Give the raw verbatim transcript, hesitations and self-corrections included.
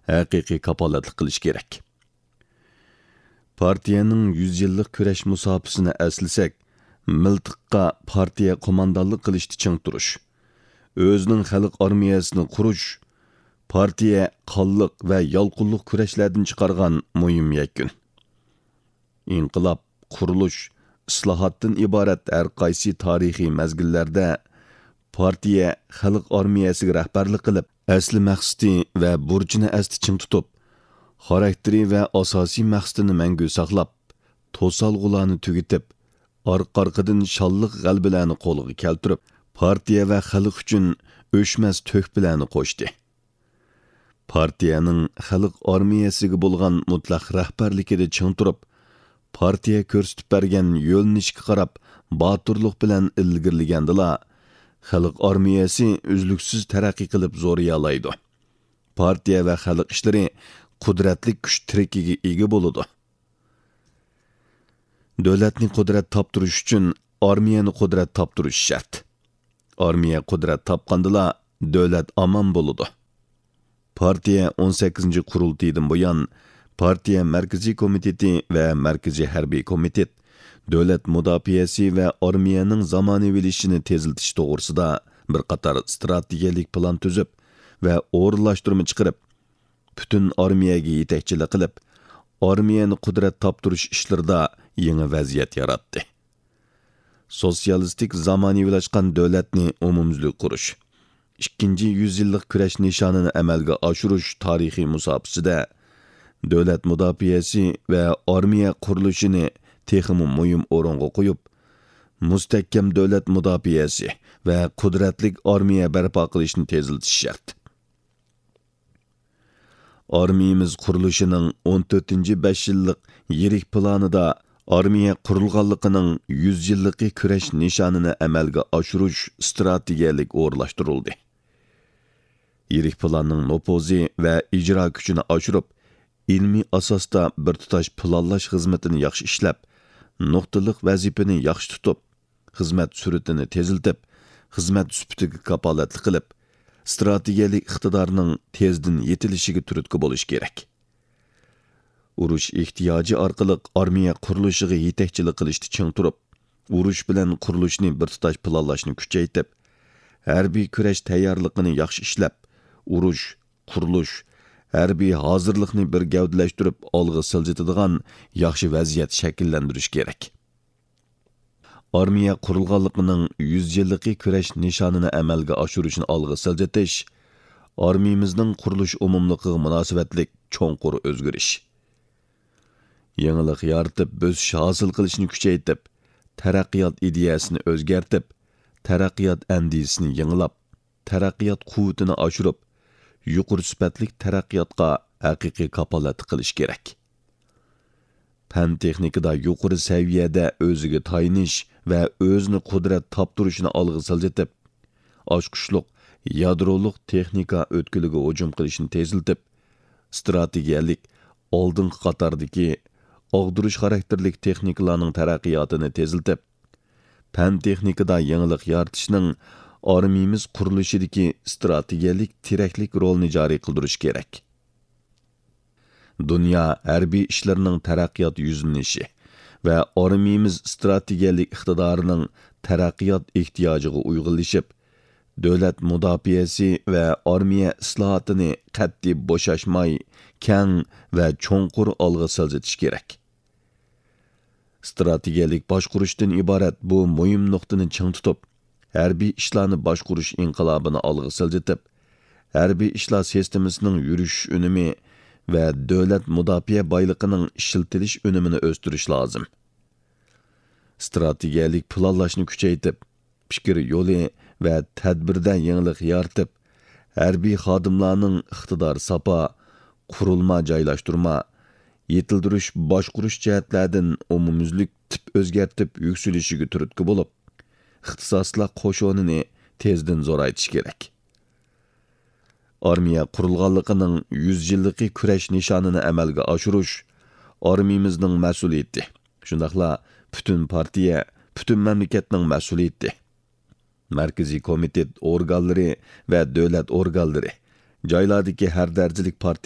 ھەقىقىي كاپالەتلىك قىلىش كېرەك. پارتىيەنىڭ يۈز يىللىق كۈرەش مۇساپىسىنى ئەسلىسەك، مىلتىققا پارتىيە قوماندانلىق قىلىشتا چىڭ تۇرۇش، ئۆزىنىڭ خەلق ئارمىيەسىنى قۇرۇش، پارتىيە قانلىق ۋە يالقۇنلۇق كۈرەشلەردىن چىقارغان مۇھىم يەكۈن. ئىنقىلاب، قۇرۇلۇش، ئىسلاھاتتىن ئىبارەت ھەر قايسى تارىخىي مەزگىللەردە پارتىيە خەلق ئارمىيەسىگە رەھبەرلىك قىلىپ، ئەسلى مەقسىتى ۋە بۇرچىنى ئەستە چىڭ تۇتۇپ، خاراكتېرى ۋە ئاساسىي مەقسىتىنى مەڭگۈ ساقلاپ، توسالغۇلارنى تۈگىتىپ، ئارقا-ئارقىدىن شانلىق غەلىبىلەرنى قولغا كەلتۈرۈپ، پارتىيە ۋە خەلق ئۈچۈن ئۆچمەس تۆھپىلەرنى قوشتى. پارتىيەنىڭ خەلق ئارمىيەسىگە بولغان مۇتلەق رەھبەرلىكىدە چىڭ تۇرۇپ، پارتىيە كۆرسىتىپ بەرگەن يۆنىلىشكە قاراپ باتۇرلۇق بىلەن ئىلگىرىلىگەندىلا، خەلق ئارمىيەسى ئۈزلۈكسىز تەرەققىي قىلىپ زورىيالايدۇ. پارتىيە ۋە خەلق ئىشلىرى قۇدرەتلىك كۈچ تىرىكىگە ئىگە بولىدۇ. دۆلەتنى قۇدرەت تاپتۇرۇش ئۈچۈن ئارمىيەنى قۇدرەت تاپتۇرۇش شەرت. ئارمىيە قۇدرەت تاپقاندىلا، دۆلەت ئامان بولىدۇ. پارتىيە ئون سەككىزىنچى قۇرۇلتىيىدىن بۇيان، پارتىيە مەركىزىي كومىتېتى ۋە مەركىزىي ھەربىي كومىتېت دۆلەت مۇداپىئەسى ۋە ئارمىيەنىڭ زامانىۋىلىشىشىنى تېزلىتىش توغرىسىدا بىر قاتار ئىستراتېگىيەلىك پىلان تۈزۈپ ۋە ئورۇنلاشتۇرما چىقىرىپ، پۈتۈن ئارمىيەگە يېتەكچىلىك قىلىپ، ئارمىيەنى قۇدرەت تاپتۇرۇش ئىشلىرىدا يېڭى ۋەزىيەت ياراتتى. سوتسىيالىستىك زامانىۋىلاشقان دۆلەتنى ئومۇميۈزلۈك قۇرۇش، ئىككىنچى يۈز يىللىق كۈرەش نىشانىنى ئەمەلگە ئاشۇرۇش تارىخىي مۇساپىسىدە دۆلەت مۇداپىئەسى ۋە ئارمىيە قۇرۇلۇشىنى تېخىمۇ مۇھىم ئورۇنغا قويۇپ، مۇستەھكەم دۆلەت مۇداپىئەسى ۋە قۇدرەتلىك ئارمىيە بەرپا قىلىشنى تېزلىتىش شەرت. ئارمىيىمىز قۇرۇلۇشىنىڭ ئون تۆتىنچى بەش يىللىق يىرىك پىلانىدا ئارمىيە قۇرۇلغانلىقىنىڭ يۈز يىللىقى كۈرەش نىشانىنى ئەمەلگە ئاشۇرۇش ئىستراتېگىيەلىك ئورۇنلاشتۇرۇلدى. يىرىك پىلاننىڭ نوپۇزى ۋە ئىجرا كۈچىنى ئاشۇرۇپ، ئىلمىي ئاساستا بىر تۇتاش پىلانلاش خىزمىتىنى ياخشى ئىشلەپ، نۇقتىلىق ۋەزىپىنى ياخشى تۇتۇپ، خىزمەت سۈرئىتىنى تېزلىتىپ، خىزمەت سۈپىتىگە كاپالەتلىك قىلىپ، ئىستراتېگىيەلىك ئىقتىدارنىڭ تېزدىن يېتىلىشىگە تۈرتكە بولۇش كېرەك. ئۇرۇش ئېھتىياجى ئارقىلىق ئارمىيە قۇرۇلۇشىغا يېتەكچىلىك قىلىشتا چىڭ تۇرۇپ، ئۇرۇش بىلەن قۇرۇلۇشنى بىر تۇتاش پىلانلاشنى كۈچەيتىپ، ھەربىي كۈرەش تەييارلىقىنى ياخشى ئىشلەپ، ئۇرۇش، قۇرۇلۇش، ھەربىي ھازىرلىقنى بىر گەۋدىلەشتۈرۈپ ئالغا سىلجىتىدىغان ياخشى ۋەزىيەت شەكىللەندۈرۈش كېرەك. ئارمىيە قۇرۇلغانلىقىنىڭ يۈز يىللىقى كۈرەش نىشانىنى ئەمەلگە ئاشۇرۇشنى ئالغا سىلجىتىش، ئارمىيىمىزنىڭ قۇرۇلۇش ئومۇملۇقىغا مۇناسىۋەتلىك چوڭقۇر ئۆزگىرىش. يېڭىلىق يارىتىپ، بۆسۈش ھاسىل قىلىشنى كۈچەيتىپ، تەرەققىيات ئىدىيەسىنى ئۆزگەرتىپ، تەرەققىيات ئەندىزىسىنى يېڭىلاپ، تەرەققىيات قۇۋۋىتىنى ئاشۇرۇپ، يۇقىرى سۈپەتلىك تەرەققىياتقا ھەقىقىي كاپالەتلىك قىلىش كېرەك. پەن-تېخنىكىدا يۇقىرى سەۋىيەدە ئۆزىگە تايىنىش ۋە ئۆزىنى قۇدرەت تاپتۇرۇشنى ئالغا سىلجىتىپ، ئاچقۇچلۇق يادرولۇق تېخنىكا ئۆتكىلىگە ھۇجۇم قىلىشنى تېزلىتىپ، ئىستراتېگىيەلىك ئالدىنقى قاتاردىكى ئاغدۇرۇش خاراكتېرلىك تېخنىكىلارنىڭ تەرەققىياتىنى تېزلىتىپ، پەن-تېخنىكىدا يېڭىلىق يارىتىشنىڭ ئارمىيىمىز قۇرۇلۇشىدىكى ئىستراتېگىيەلىك تىرەكلىك رولىنى جارى قىلدۇرۇش كېرەك. دۇنيا ھەربىي ئىشلىرىنىڭ تەرەققىيات يۈزلىنىشى ۋە ئارمىيىمىز ئىستراتېگىيەلىك ئىقتىدارىنىڭ تەرەققىيات ئېھتىياجىغا ئۇيغۇنلىشىپ، دۆلەت مۇداپىئەسى ۋە ئارمىيە ئىسلاھاتىنى قەتئىي بوشاشماي، كەڭ ۋە چوڭقۇر ئالغا سىلجىتىش كېرەك. ئىستراتېگىيەلىك باشقۇرۇشتىن ئىبارەت بۇ مۇھىم نۇقتىنى چىڭ تۇتۇپ، ھەربىي ئىشلارنى باشقۇرۇش ئىنقىلابىنى ئالغا سىلجىتىپ، ھەربىي ئىشلار سىستېمىسىنىڭ يۈرۈشۈش ئۈنۈمى ۋە دۆلەت مۇداپىئە بايلىقىنىڭ ئىشلىتىلىش ئۈنۈمىنى ئۆستۈرۈش لازىم. ئىستراتېگىيەلىك پىلانلاشنى كۈچەيتىپ، پىكىر يولى ۋە تەدبىردە يېڭىلىق يارىتىپ، ھەربىي خادىملارنىڭ ئىقتىدار ساپا، قۇرۇلما جايلاشتۇرما، يېتىلدۈرۈش، باشقۇرۇش جەھەتلەردىن ئومۇميۈزلۈك تىپ ئۆزگەرتىپ يۈكسىلىشىگە تۈرتكە بولۇپ، ئىختىساسلىق قوشۇنىنى تېزدىن زورايتىش كېرەك. ئارمىيە قۇرۇلغانلىقىنىڭ يۈز يىللىقى كۈرەش نىشانىنى ئەمەلگە ئاشۇرۇش ئارمىيىمىزنىڭ مەسئۇلىيىتى، شۇنداقلا پۈتۈن پارتىيە، پۈتۈن مەملىكەتنىڭ مەسئۇلىيىتى. مەركىزىي كومىتېت ئورگانلىرى ۋە دۆلەت ئورگانلىرى، جايلاردىكى ھەر دەرىجىلىك پارتىيە